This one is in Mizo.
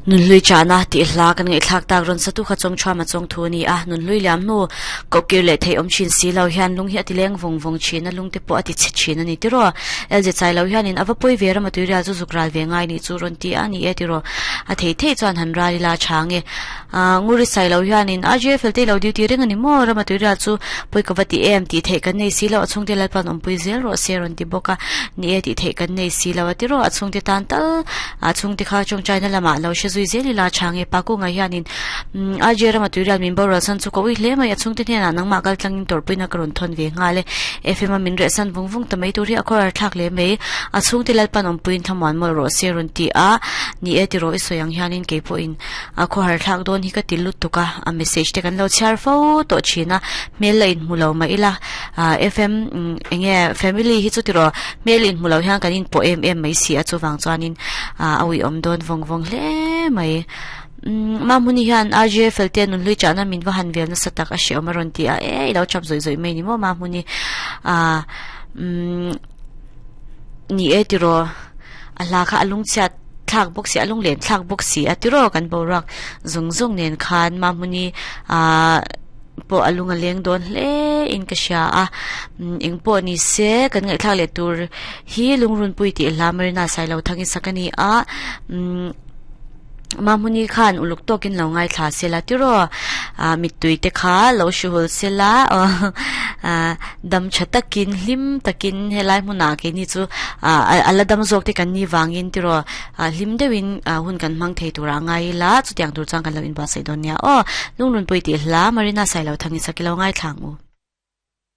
Nunhlui chahna tih hla kan ngaihthlak tak rawn satu kha chawng thuam a chawng thu a ni a, nunhlui liam hnu koh kir leh theih awm thin si lo hian lung hi a ti leng vawng vawng thin a, lung te pawh a ti chhe thin a ni tiraw. LJ chai lo hianin a va pawi ve ram a tuirial chu zuk ral ve ngai nih chu rawn ti a ni e tiraw. A thei thei chuan han ral ila chhang e. Nguri sai lo hianin RJ fel te lo duty reng a ni maw ram a tuirial chu pawi ka va ti em tih theih kan nei si lo a chhungte Lalpan awmpui zel rawh se rawn ti bawk a ni e tih theih kan nei si lo a tiraw a chhungte tan tal A chhungte kha tawngtaina lamah lo hre zui zel ila tha nge pa kungah hianin RJ rama tuirial min boral san chu ka ui hle mai a chhungte hnenah nangmah kal tlangin tawrhpuina ka rawn thawn ve nghal e. FM a min reh san vung vung ta mai tur hi a khawhar thlak hle mai. A chhungte Lalpan awmpuiin thlamuan mawlh rawh se rawn ti a, ni e tiraw i sawi ang hianin kei pawhin a khawhar thlak dawn hi ka ti lutuk a, a message te kan lo chhiar fo tawh thin a, hmel la inhmu lo mah ila FM enge family hi chu tiraw Hmel inhmu lo hian kan inpawh em em mai si a, chuvang chuanin a uiawm dawn vawng vawng hle mai. Umm Mahmuni hian RJ Felte nunhlui chahna min va han vel nasa tak a hreawm a rawn ti a, e i lo chap zawih zawih mai ni maw Mahmuni. Ahh umm ni e tiraw a hla kha a lungchhiat thlak bawk si a lunglen thlak bawk si a tiraw kan boruak zung zung nen khan Mahmuni ahh pawh a lung a leng dawn hle in ka hria a eng pawh ni se kan ngaihthlak leh tur hi lungrunpui tih hla Marina Sailo thang in sak a ni a umm Mahmuni khan uluk tawkin lo ngaithla sela tiraw ah mittui te kha lo hruhul sela ah dam tha takin hlim takin helai hmunah keini chu ah a la dam zawk te kan ni vangin tiraw Ah hlim deuhin ah hun kan hmang thei turah ngai ila chutiang tur chuan kan lo inbuatsaih dawn nia aw. Lungrunpui tih hla Marina Sailo Thangi Sakilo ngaithla ang u.